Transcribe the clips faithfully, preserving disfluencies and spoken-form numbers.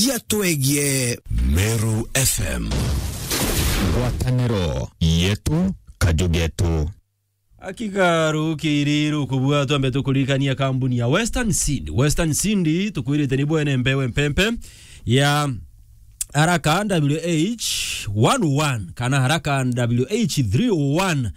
Yatwegie. Meru F M. Ngwataniro yetu, kaju getu. Akiga rukiri rukubua, twambe tukuririkania kambuni ya Western Seed. Western Seed, tukwirite ni bwene mbeu empempe ya Haraka W H one oh one kana Haraka W H three oh one.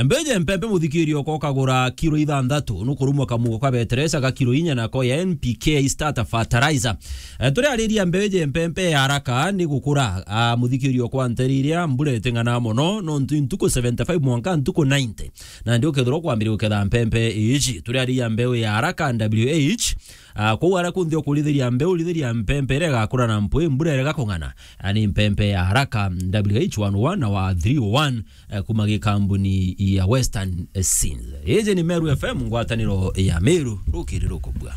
Mbeje mpempe, muthikirio ko kagura kiro ithanthatu, nukurumwa kamugo ka beteresa ga kiro inya, nako ya N P K starter fertilizer. Eh, turiariria mbeje mpempe ya Haraka ni gukura, ah, muthikirio kwa nteri iria mbura iting'ana mono, nontu ntuku seventy-five mwanka ntuku ninety. Na ndi ukethirwa kwambiria guketha mpempe iji. Turiariria mbeu ya Haraka W H, ah, kou ara kunthi ukurithiria mbeu, urithiria mpempe iria igakura na mpwi mbura iria igakung'ana. Ah, ni mpempe ya Haraka W H one oh one na wa three oh one, eh, kuma gikambuni ya Western, eh, Seeds. Iji ni Meru F M, ngwataniro ya Meru, rukiri rukubua.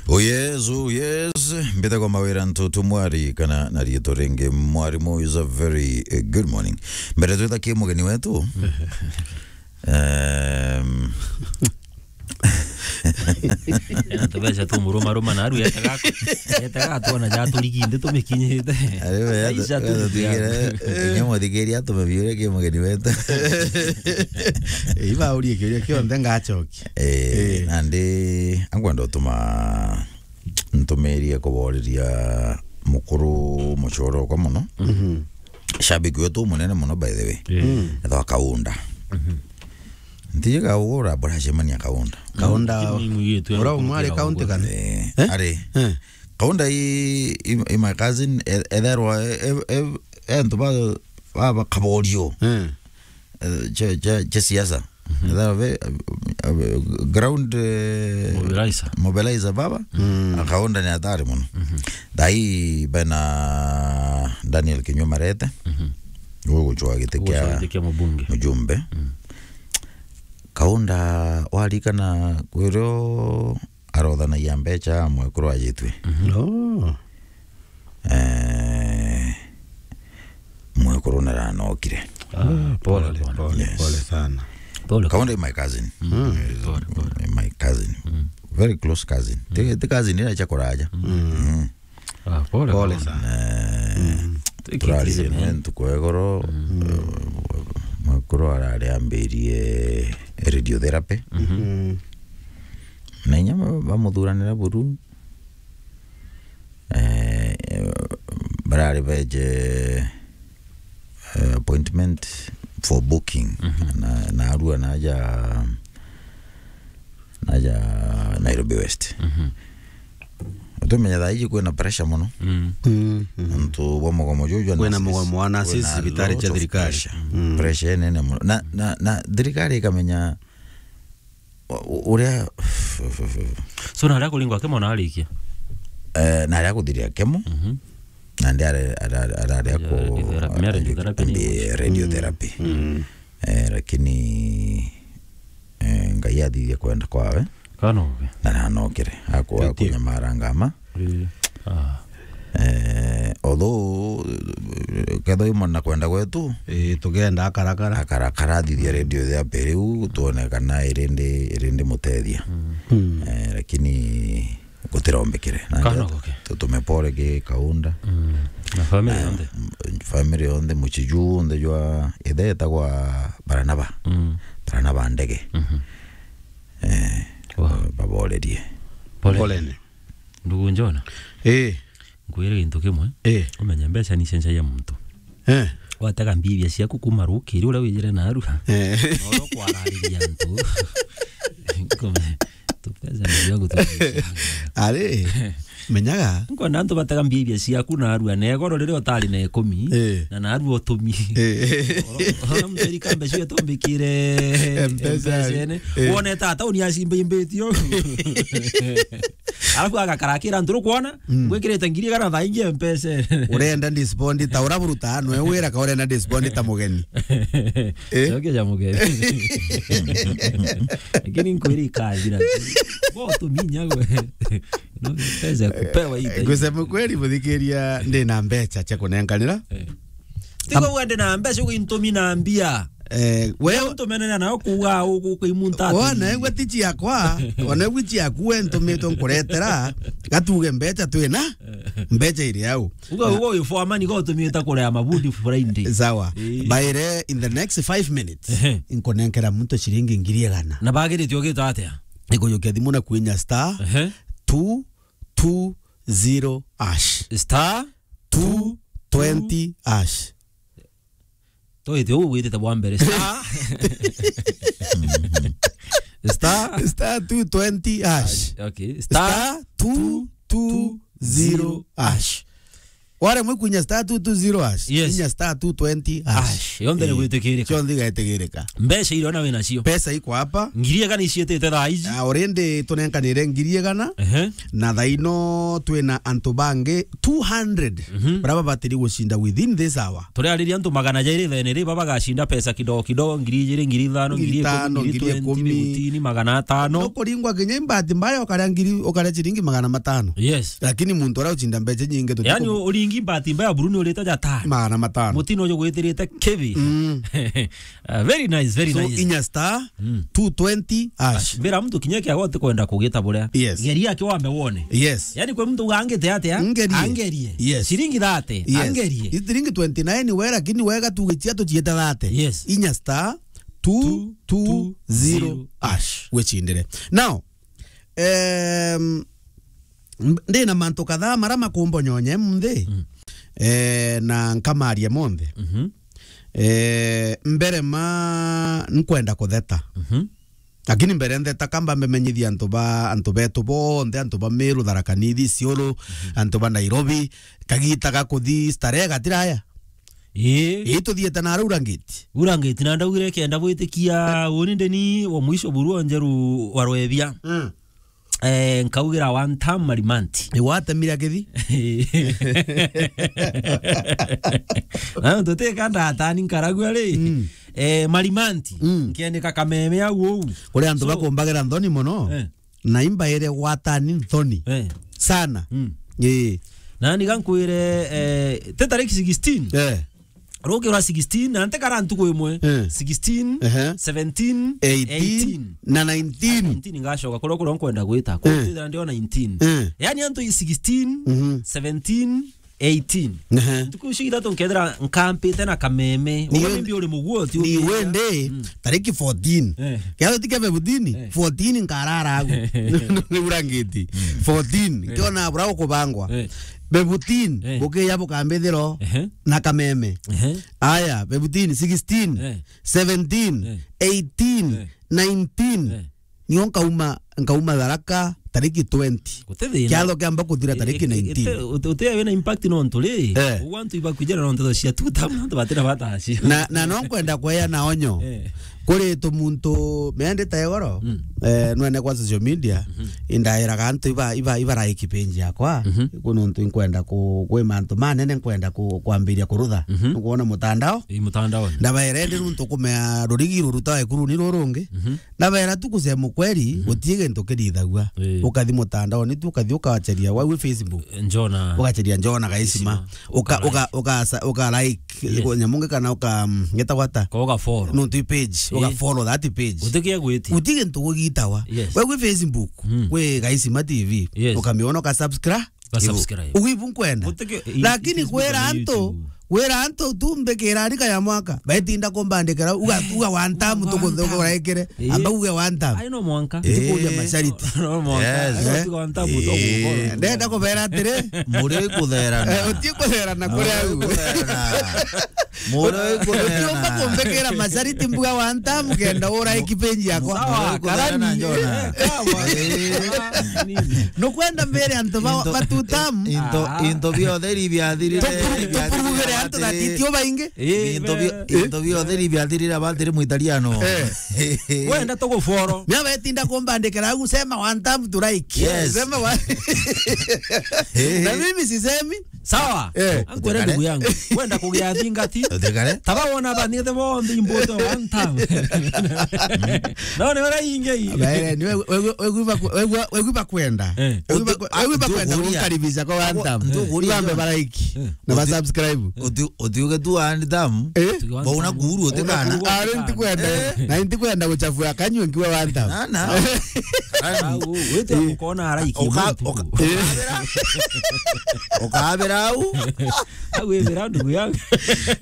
Oh yes, oh yes. Mbite kwa mawira ntutu mwari kana na rieto ringi mwarimu is a very, eh, good morning. Mbere twitha ki mugeni wetu. Em, ena tubeca tumurumaruma na aru etaga, etaga atwona ja turigi nthi tumikinyite. Ari we Aisha tu- tutigire, inya muthikiria atume biuria ki mugeni wetu. Iba urie kiuria kionthe ngachokia. Eh, eh, nandi angwenda utuma ntumirie kuboreria mukuru muchoro okwa muno. Mhm. Shabiki wetu munene muno, by the way. Eh. Mm. Ethwa Kaunda. Mhm. Ntiji Kaunda, buracemania Kaunda. Kaunda, lakini mwigitwe ura umwari kaunti kana? Eh, eh? Ari. Eh. Kaunda i, i, i my cousin, e-, etherwa, e-, e-, e-, entu ba, ba, ba Kaborio. Eh. Eh, cha, cha, cha siasa. Mhm. Etherwa ve, eh, eh, ground, eh, mobilizer. Mobilizer baba. Mm. Kaunda ni hatari muno. Mhm. Thai bena Daniel Kinyua Marete. Mhm. Ugucwa giti kia mubunge. Mujumbe. Mm. Kaunda warikana kwirio arothanagia mbecha mwekuru ajitwe. Mhm. Oh. Eh, mwekuru naranokire. Ah, pole, pole, pole. Yes. Pole sana. Pole. Kaunda is my cousin. Mm. Eh, pole, pole. My cousin. Mm. Very close cousin. Mm. Ti, ti cousin ira cha kuraja. Mm. Mm. Ah, pole, pole sana. Eh, mm. Turari ntuku ya igoro, mm, eh, mwekuru arari ambirie radiotherapy. Mhm. Mm. Na inya ba-, bamuthuranira buru. Eh, barari beje, eh, appointment for booking. Mhm. Na, na arua naja, naja Nairobi West. Mhm. Utumenya thaa iji kwina pressure muno. Mm. Mm, mm. Nontu bwa mugomo juju jwa nurses. Kwina mugomo wa nurses, kwina cibitari cia thirikari. Pressure. Mm. Pressure nene muno. Na, na, na thirikari ikamenya u-, u-, uria. So, na aria kuringwa kemo na arikia? Eh, na aria kuthiria kemo. Mhm. Na ndi are-, ara-, ara-, aria ku-, radiotherapy, mea radiotherapy ni ambi-, radiotherapy. Mm. Eh, lakini, eh, Ngai athithia kwenda kwawe. Kana oke. Na nanokire. Aku-, akunyamara ngama. Eh. Ah. Eh, although, eh, kethwa imo na kwenda gwetu, eh, tugenda akarakara. Akarakara, athithia radiotherapy riu, tuone kana irindi, irindi mutethia. Mm. Mm. Eh, lakini gutirombekire. Na kana ndio oke. Tutume pole ki Kaunda. Mm. Na family yonthe. Mm, family yonthe, muchiju onthe jwa ithe etagwa Baranaba. Mm. Baranaba Ndege. Mhm. Eh, wow. Baborerie. Pole. Poleni. Ndugu Njona. Eh. Nkwire gintu kimwe. Eh. Umenye mbeca ni cencagia muntu. Eh. Watega mbia ciaku kuma rukiri uria wijire narua. Eh. Noro kwarariria antu. Kume-, tubeca ni cia gutu-. Ari, menyaga. Nkwenda antu batega mbia ciaku narua, na igoro riria utari na ikumi, eh, na narua utumi. Eh. Oro, oro mteri kambe cio tumbikire M-Pesa. M-Pesa-ini. Eh. Wone ta tauni acimba imbitio. Alafu agakara akira antu rukwona, mm, ngwikirite ngiri igana thaa ingi M-Pesa. Urenda disbond ta ura buruta, nwe wira ka urenda disbond ta mugeni. Eh? Cokia ja mugeni. Lakini nkwiri ikathira. Bo tuminya gwe. No, pesa ya kupewa hii. Eh, kusema kweli, muthikiria, ndi na mbecha cia kunenkanira. Eh. Tiga uende na mbeca, ugintumi na mbia. Eh, we ntumenera nayo kuuga uku kwi muntu ati. Wona egwe ti ciakwa, wona egwe ciaku we ntumitwe nkuretera, gatuge mbeca twina. Mbeca iri au. Uga, uga uyu foreman go tumite kurea mabundi Friday. Sawa. Eh. Baire in the next five minutes. Ehe. Inkunenkera muntu ciringi ngiri igana. Na bagirite ugita atia? Ikujukia thimu na kwinya star Ehe. two two zero hash. Star two twenty hash. Toite uu gwitite bwa mbere. Star. Star. Star two twenty hash. Okay. Star two two zero hash. Ware mwe kunya star two two zero hash. Yes. Kunya star two twenty hash. Hash. Yonthe ni Eh, gwitikirika. Yonthe igaitikirika. Mbeca iria ona wina cio. Pesa iko hapa. Ngiri igana icietete thaa ici. Ah, already tunenkanire ngiri igana. Ehe. Na thaa ino twina antu bangi two hundred Mhm. baria babatiri gucinda within this hour. Turiariria antu magana jairi thaene ri, baba bagacinda pesa kidogo kidogo, ngiri ijiri, ngiri ithano, ngiri ikumi, ngiri twenty, ngiri ikumi. Mibutini, magana atano. Nukuringwa kinya imbati mbaya ukaria ngiri, ukaria ciringi magana matano. Yes. Lakini muntu uria ucinda mbeca nyingi tuti- Yani, u-, uringi imbati mbaya buru ni urite ja tano. Magana matano. Mutino uju gwitirite kibi. Mm. Ah, very nice, very So, nice. Inya star Mm. two twenty hash. Mbira muntu kinya kia gote kwenda kugita buria. Yes. Geria akiwambe wone. Yes. Yani, kwi muntu uga angite atia? Ngerie. Angerie. Yes. Ciringi thirty. Yes. Angerie. Ciringi twenty nine we, lakini wega tu gichia tuchiete thirty. Yes. Inya star two two zero hash. Wechindire. Now, em, m-, ndina mantu kadhaa mara makumbonyonye munthi. Mm. Eh, na nkamaria monthe. Mhm. Eh, mbere ma nkwenda kutheta. Mhm. Lakini mbere ntheta kamba mbemenyithia antu ba, antu betu bonthe, antu ba Meru, Tharaka Nithi, Isiolo, Mhm. antu ba Nairobi, kagita ga kuthi starehe gatiraya. Ii. Ii, tuthiete na Urangiti. Urangiti na ndaugire kenda bwitikia uni ndeni wa mwisho buru o Njeru wa Rwebia. Mm. Eh, nkaugira one term Marimanti. Ni watemire akithi? Na ntutika ndatani nkaragua ri. Mm. Eh, Marimanti. Mm. Nkiandika kameme au uu. Kuri antu So bakumbagira nthoni mono. Eh. Na imbaire gwatani nthoni. Eh. Sana. Mm. Ii. Na niga nkwire, eh, te tariki sixteen. Eh. Ruki rwa sixteen, na nte kara ntuku imwe. Eh. Sixteen, Ehe. seventeen, Eighteen, eighteen. Na nineteen. Nineteen ngacoka kuria, kuria nkwenda gwita. Eh. Kuu ndio nineteen. Eh. Yani antu i sixteen, Mhm. seventeen, eighteen. Ehe. Ntuku icio ithatu nkethira nkampite na kameme. Ni Uga we-, maybe uri muguo, ti ni ugiria. Wende, Mm. tariki fourteen. Eh. Kiatho ti kia fifteen, Eh. fourteen nkarara agu. Ni Urangiti. Mm. Fourteen, Eh. kiona bura ukubangwa. Eh. Fifteen, Eh. bukiya bukambithiro Ehe. na kameme. Ehe. Aya, fifteen, sixteen, Eh. seventeen, Eh. eighteen, Eh. nineteen. Eh. Nio nkauma, nkauma Tharaka tariki twenty. Guti thina. Kiatho kiamba kuthira tariki Eh, eh, nineteen. Ute-, ute-, uti wina impact nontu ri. Eh. Ugu antu ibakwijira nontu cia two term nontu batira bataci. Na, na no nkwenda kweana onyo. Eh. Kuri tumuntu meende ta igoro. Mm. Eh, nwene kwa social media. Mhm. Indairaga antu iba, iba, iba like page yakwa. Mhm. Ku nontu nkwenda ku, kwi mantu manene nkwenda ku, kwambiria kurutha. Mhm. Nukwona mutandao. Ii, mutandao. Ndabaira indi nuntu kumea rurigi ruruta ekuru ni rurungi. Mhm. Ndabaira tu kusema ukweli, Mhm. gutie gintu kirithagua. Ii. Ukathi mutandao, ni tu ukathi ukacheria wau Facebook. Njona. Ugacheria Njona Gaisima. Isima. Uka, Uka uka, uka sa-, uka like, Yes. nyamu ngi kana uka, mm, ngeta gwata. Ko uka follow. Nuntu i page, Ii. uka follow that page. Guti kia gwiti. Guti gintu gugitagwa. Yes. Wau wi Facebook, Mm. wi Gaisima T V. Yes. Ukamiona uka subscribe. Uka subscribe. Ugu ibu nkwenda. Guti ki-, i-, Lakini i-, kwira i-, antu, YouTube. Kwira antu tu mbikira rika ya mwaka, betinda kumbandikira, uga, uga one time One time. tukuthukuraikire, Ii. amba uge one time. Ai, no mwanka. Ii. Tukuria mashariti. No mwanka. Yes. Ai, no Eh? tiga one time Eh. utogukora. Ndenda kubera atiri. Muri kutherana. Eh, uti kutherana kuri Muri au. kutherana. Muri Utiumba kutherana. kumbikira mashariti mbuga one time kenda ura ikipenji yakwa. Sawa, Muri kutherana, karani. Njona. Eh, kawa. Eh. Nini? Nukwenda mbere antu ba, Into, ba two term. into, Ah. into biothe iri biathirire, Tupuru-, biathirire tupurugire antu atiri. That itio baingi. Eh, Into bi-, eh. into biothe iri biathirire abatiri mwitariano. Eh. Wenda tuguforo. Mia betinda kumbandikira au, sema one time to like. Yes. Sema wa-, Eh. Na mimi sisemi. Sawa. Eh. Ankwere ndugu yangu. Wenda kugia thingati. Utigare. Taba wona ba, ni the bonthe imbote one time. No, ni ora inge i. Baere, ni we, we, we, we gwiba ku-, we gwa-, we gwiba kwenda. Eh. We gwiba Uti-, kwe-, we gwiba kwenda ntukuria. Gukaribisha kwa one time. Ntukuria. Ibambe baraiki. Eh. Na ba Uti-, subscribe. Uti-, utiuge tu one time. Eh? Tuge one Bauna time. Kuru utikana. Bauna kuru Ari utikana. Ntikwenda. Eh. Na ntikwenda guchafua kanywe nkiwa one time. Na, na. Au, wete Eh. Ukona araiki. Uka-, muntu. Uka-, Eh. Ukabira. Ukabira au. Au wibira ndugu yangu.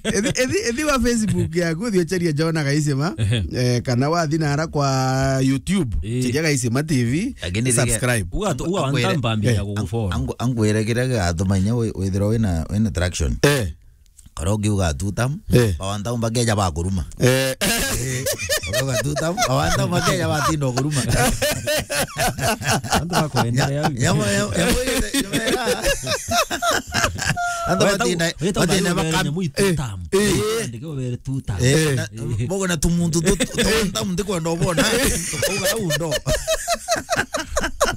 Ethi, ethi, ethi wa Facebook yaku, uthi ucheria Jona Gaisima. Ehe. Eh, kana wathi nara kwa YouTube, Eh. Cheria Gaisima T V, Lakini thige- subscribe. Uga tu, uga Akwere. Wantambambia Eh. gugufollow. Ang-, ang-, angwire kiria gigatuma inya wi-, withirwa wina, wina traction. Eh. Kora ungiuga two term, Eh. ba one term bakeja bakuruma. Eh. Eh, ukauga two term, ba one term bakeja batinda kuruma. Antu bakwenderea. Nya-, nyamo, nyamo, nyamo, nyamo, Antu Weta batinda, u-, weta batinda unayo bakam-, nyamu itu Eh. Tam. Eh. Ndike ubere two term. Eh, Eh. Na, bogo na tumuntu tu, tu, tu, one term ndikwenda ubona. Tukauga au ndo.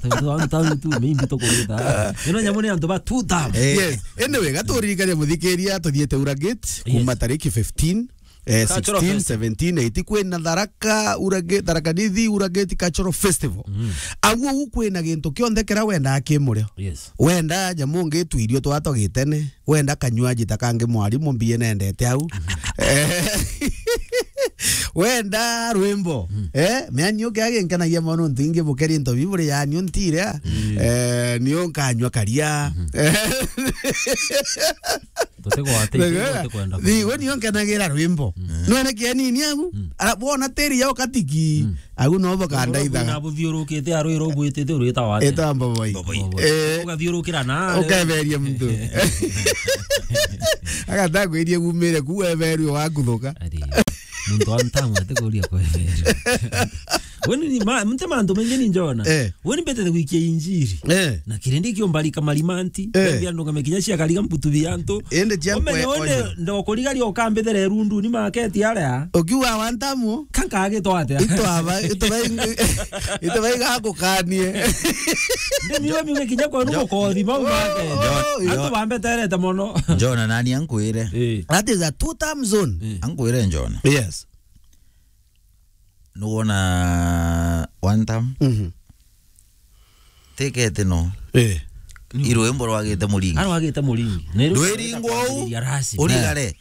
Tau, tau, tau, tu, maybe tukuruta. Ino nyamu ni antu ba two term. Eh. Yes. Anyway, gaturirikania muthikiria, tuthiete Ura Gate, kuma Yes. tariki fifteen, eh, Cultural sixteen, Festival. Seventeen, eighteen, kwina Tharaka, Ura Gate, Tharaka Nithi, Ura Gate Cultural Festival. Mm. Aguo gu kwina gintu kionthe kiria wendaa ki murio. Yes. Wenda nyamu ngi twirio twa twa gitene. Wenda kanywaji ta kangi mwarimu mbie nendete au. Eh, wenda rwimbo. Mm. Eh, miani uke aginkenagia mono ntu ingi bukeri nto biburi yani untire. Mm. Eh, nio nkanywa karia. Mhm. Tutigwatite, Wega. Tutikwenda Thigo kuigua. Nio nkenagira rwimbo. Mm. Nwene kianini agu. Mm. Ara bona tiri yao katiki. Mm. Agu no bokandaithaga. Na buthiurukite arwiro gwitite urita wate. Eta mboboi. Mboboi. Eh. Ugathiurukira na. Ukeberia muntu. Agata kwirie gumire ku weberwe wakuthuka. Ari. Muntu wa ntamu atikuria kweberwa. Weni ni ma-, mte mantu maingi ni njona. Eh. Weni mbetete gwikia injiri. Eh. Na kirindi kiombarika marimanti. Eh. Mbia ndunga mekinya cia kariga mbutu bia antu. Ende cia Umenye kwe-, wende onye. Ndokurigaria ukambithere rundu ni market aria. Ukiuga wa ntamu. Kankagitwate. Itwaba, itwaba ing-, itwaba igagukanie. Ndimiwe miuge kinya kwenu Jo-, mukothi mau make. Oh, Antu jo-, bambeterete mono. Jona nani ankwire? Eh. That is a two term zone. Eh. Ankwire Jona. Yes. Nuwona one term? Mhm. Tikete no. Eh. Irwimbo rwagite muringi. Arwagite muringi. Ni rwimbo Ndwiringwa u, rwitagwa Rasi. Urigare. Eh.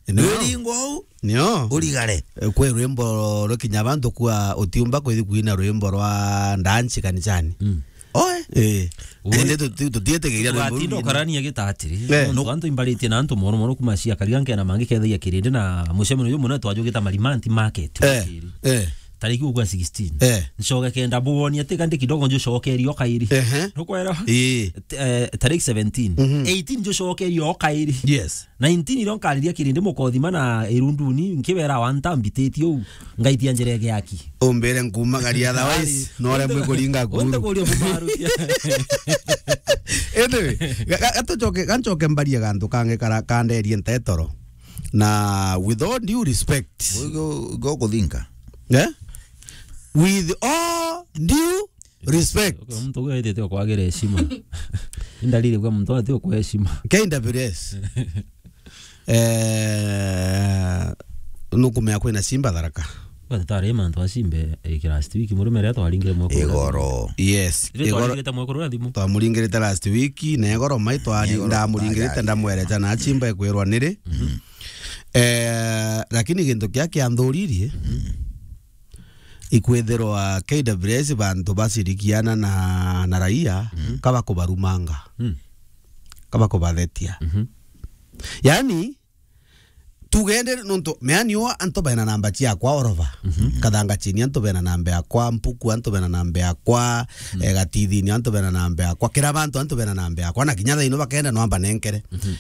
No. Ndwiringwa u, Nio. Urigare. Eh, kwi rwimbo rukinya bantu kwa utiumba kwithi kwina rwimbo rwa ndanci kanicani. Mm. Oe. Eh. Ui. Ende tuti-, tutietigiria rwimbo Tugatindo rwingine. Karania gitatiri. Eh. Nontu antu imbaritie na antu mono mono kuma cia kariga nkena mangi kethagia kirindi na mucemanio uyu muna twajugita Marimanti Market. Eh. Wakiri. Eh. Tariki ugwa sixteen. Eh. Ncoge kenda bwoni ati kandi kidogo njo cokerio kairi. Ehe. Nukwera? Ii. T-, eh, tariki seventeen. Mhm. Eighteen njo cokerio kairi. Yes. Nineteen irio nkariria kirindi mukothima na irunduni nkibera wa ntambititie u ngaitia njira ege aki. Umbire nkumagaria otherwise, Ari, no remwe unde-, kuringa kuru. Unde kuria kumarukia. Anyway, ga-, ga-, gatucoke, gancoke mbarie gantu kange kara-, kanderie ntetoro. Na with all due respect. Go, go, go kuthinka. Eh? With all due respect. Okay, muntu uyu aitite okwagira heshima. Indalili kwa muntu ati okwa heshima. K W S. Eh, nukumea kwina Simba Tharaka. Kwa tutari mantu a Simba, eh, last week, murume ria twaringire mwekuru. Igoro. Yes, Itwe igoro. Twaringirite mwekuru na thimu. Twamuringirite last week, na igoro mai twari-, Igoro ndamuringirite, twari-, ndamwerecha na Simba ekwirwa niri. Mhm. Eh, lakini gintu kia kianthuririe, mhm, ikwithirwa K W S bantu bacirikiana na, na raia, mhm, kaba kubarumanga. Mm. Kaba kubathetia. Mhm. Yani, tugende nontu, meani o antu bena namba ciakwa orova. Mhm. Kathanga chini antu bena namba yakwa, Mpuku antu bena namba yakwa, mm, eh, Gatithini antu bena namba yakwa, kira bantu antu bena namba yakwa, na kinya thaino bakenda no amba nenkere. Mhm.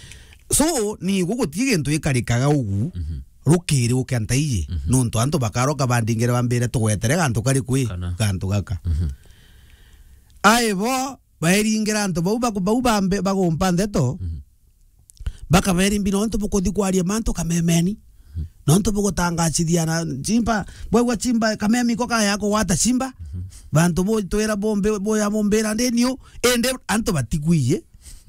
So, ni guguti gintu ikarikaga ugu, mhm, rukiri ukia ntaiji, mhm, nontu antu bakaroka bandingire bambire tugwetere gantu kari kwi, kana, gantu gaka. Mhm. Ai bo, bairingira antu bau baku-, bau bambe-, bagumpa ndeto, mhm, bakaberi mbi nontu bukuthi kwaria mantu kamemeni. Mhm. Nontu bugutangacithia na chimba, bwegwa chimba, kamemi ko kaya kugwata chimba. Mhm. Bantu bu twira bombe, boya bombira ndi niu, indi antu batikwiye,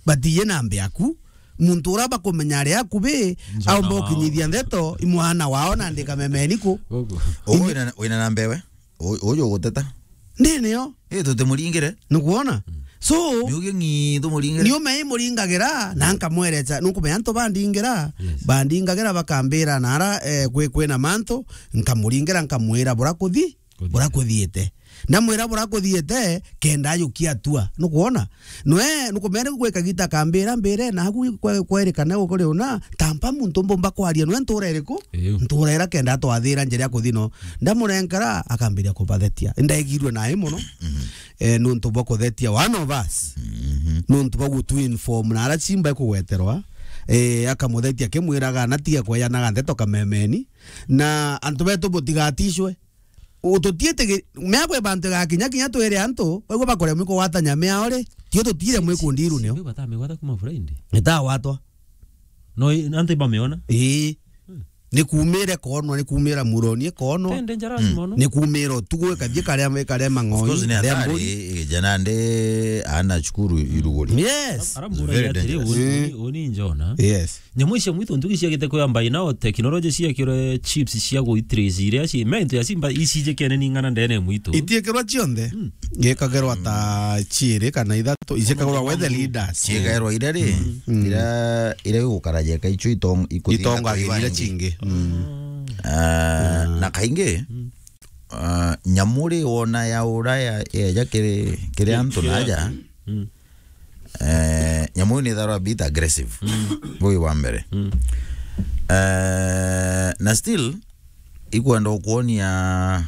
batiye na mbe yaku. Muntu ura bakumenya ari akubi, aumba gukinyithia ndeto, i mwana wao na ndika memeni ku. Guku. Uyu wina, wina na mbewe? U-, uyu uguteta? Ndi nio. Ii, tutimuringire. Nukwona? So, miugi ng'i tumuringire. Niume imuringagira, na nkamwereca, nukumenya antu bandingira, yes, bandingagira bakambira nara, eh, kwi-, kwina mantu, nkamuringira, nkamwira bura kuthi, kuthi, bura kuthiite. Ndamwira bura kuthiite, kenda ajukia atua. Nukwona? Nwe, nukumenya ni gwika gita kambira mbire, na agu kwe-, kwerikana gukuri una, tampa muntu mbumba kwaria nwe ntura iriku? Iu. Ntura ira kenda atwathira njira ya kuthi no. Ndamurenkera, akambiria kubathetia. Ndaigirwe nae mono. Mhm. Eh, nuntu bwa kuthetia one of us. Mhm. Nuntu bwa gutu inform na ara chimba ikugweterwa. Eh, akamuthetia akimwiraga, "Na tiga kweyanaga ndeto kamemeni." Na antu betu butigatishwe. Ututiite gi-, miago ibantu igakinya kinya twire antu, baigua bakuremwa ikugwatanya miao ri, tio tutire mwikundiru nio. Simba batamigwata kuma Friday. Itagwatwa. No, i-, antu ibamiona? Ii. Hmm. Ni kuumire koonwa, ni kuumira muroni koonwa. Tende njara, mm, mono. Ni kuumira utugu ikathie karia, karia mang'oi, of course, ni karia hatari, mburi. Ijana ndi ana cukuru iruguri. Yes. Ara-, ara mbura very atiri, dangerous. Uni, uni, uni njona. Yes. Nyamu icio mwitu ntugi ciagite kwamba inao technology ciekirwe chips cia guitrace iria ci, mento ya simba icijikene ni ng'ana ndene mwitu. Itiekirwa cionthe? Mm. Gikagirwa ta ciiri kana ithatu, ijikagirwa we the leaders. Ciikairwa iria ri, mm, iria, iria igukara jeka icio itong-, ikuthinga itongagiria iria chingi. Mm. Ah, na kaingi, mm, ah, nyamu ri wona ya ura ya, eja kiri, kiri antu naja. Mm. Eh, nyamu ni ithagirwa a bit aggressive. Mm. Bui wa mbere. Mm. Eh, na still, ikwenda ukwonia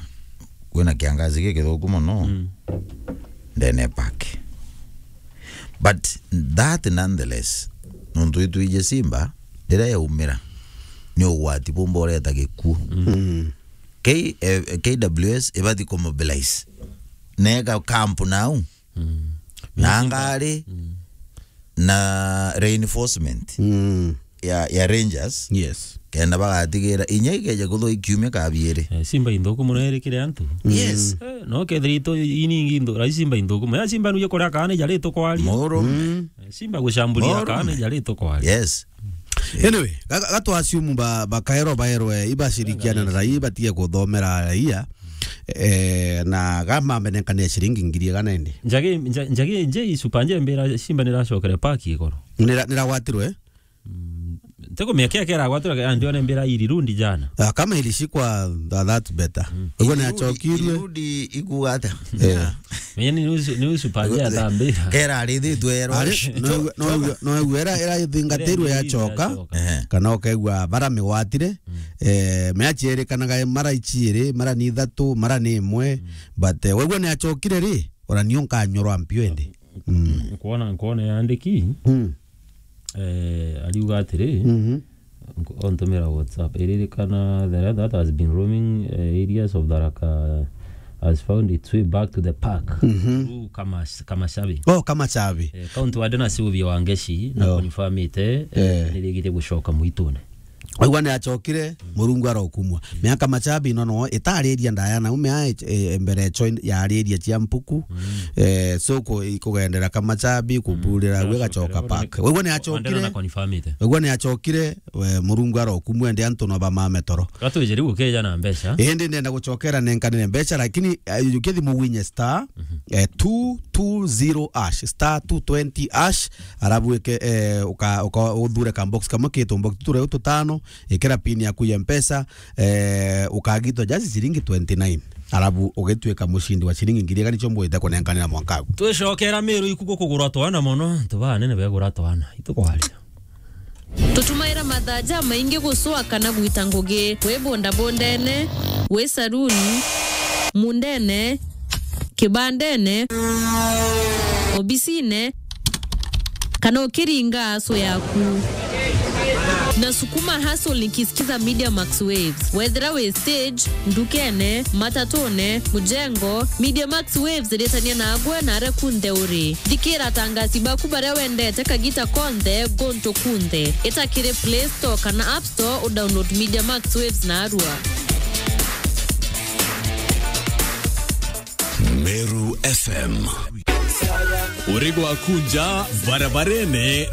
kwina kiangazi gikithuku mono, mm, ndene park. But that nonetheless, nuntu itwije simba, riria yaumira, ni ugwati bumba ureta gikuo. Mm. K-, eh, K W S ibati kumobilize. Nega camp nau. Mm. Na ngari, mm, na reinforcement, mm, ya, ya rangers. Yes. Kenda bagatigira inya ikeja kuthwa ikiumia kabiiri. Eh, simba inthuku muno iri kiri antu. Yes. Eh, no kethira itu iningi inthu, rai simba inthuku. Ya simba nuje kuria kana jari tukwaria. Muru. Mm. Eh, simba gucamburia kana jari tukwaria. Yes. Anyway, ga-, ga-, gatwasiumu ba-, bakaerwa baerwe ibashirikiana na raia, batige kuthomera raia. Eh, na gamba mbenenkania ciringi ngiri igana indi. Njagi, nja-, njagi, nje isupa nje mbira simba niracokere paki igoro. Nira-, niragwatirwe? Mm, teko miaka yake iragwatirwe, andione mbira irirundi jana. Ah, kama ilishikwa, tha-, that's better. Mm. Uguo ni acokirwe. Irirundi ikuga atia? Eh. Yeah. Menya ni nusu, ni nusu panja ya thambira. Kera arithitwe erwa. Ari, no, no, no, era, era ithingatirwe yacoka. Ehe. Kana ukaigua bara migwatire. Mm. Eh, meachi erikanaga mara ichiiri, mara ni ithatu, mara ni imwe. Mm. But, eh, wegua ni achokire ri, ora nio nkanyorwa mpio ende. Mm. Nkwona, nkwona yandiki. Mm. Eh, ariuga atiri, mhm, nk-, ontumira WhatsApp, iririkana the rat that has been roaming, eh, areas of Tharaka has found its way back to the park, mhm, through Kamas-, Kamashabi. Oh, Kamashabi. Eh, kaunti wade na Sylvia Wangeci, na, oh, confirmite, eh, eh, nirigite gucoka mwitune. Aigua ni achokire, Murungu arokumwa. Miaka machabi nono itariria ndaya na ume ai, e, mbere cho yariria cia mpuku. Mm. Eh, so ku-, ikugendera ka machabi, kuburira, mm, gwe gacoka park. Aigua ni achokire. Aigua ni achokire, we, Murungu arokumwa ndi antu no bamame toro. Gatwije riu ukeja na mbeca. Indi ndenda guchokera nenkanire mbeca, lakini, eh, ukithi mugwinye star, mhm, eh, two two zero hash, star two twenty hash, arabu eke, eh, uka, uka, uthure ka box kamwe kitu box ture ututano, ikira pin yaku ya mpesa, eh, ukagitwa just ciringi twenty nine. Arabu ugituika mushindi wa ciringi ngiri igana nicho mbwite kunenkanira mwaka uyu. Twicokera Miru ikuku kugura twana mono, tuba nene begura twana. Itukwaria. Tutumaira mathaa jamaingi gucwa kana gwita ngugi, wi bondabondene, wi saruni, mundene, kibandene, obisine, kana ukiringa aso yaku. Na sukuma hustle nikisikiza Media Max Waves. Wethira wi stage, ndukene, matatune, mujengo, Media Max Waves iritania nagwe na aria kunthe uri. Thikira atangasi baku baria wendete kagita konthe, guntu kunthe. Ita kiri Play Store kana App Store, udownload Media Max Waves narua. Meru F M. Uri gwaku nja barabarene.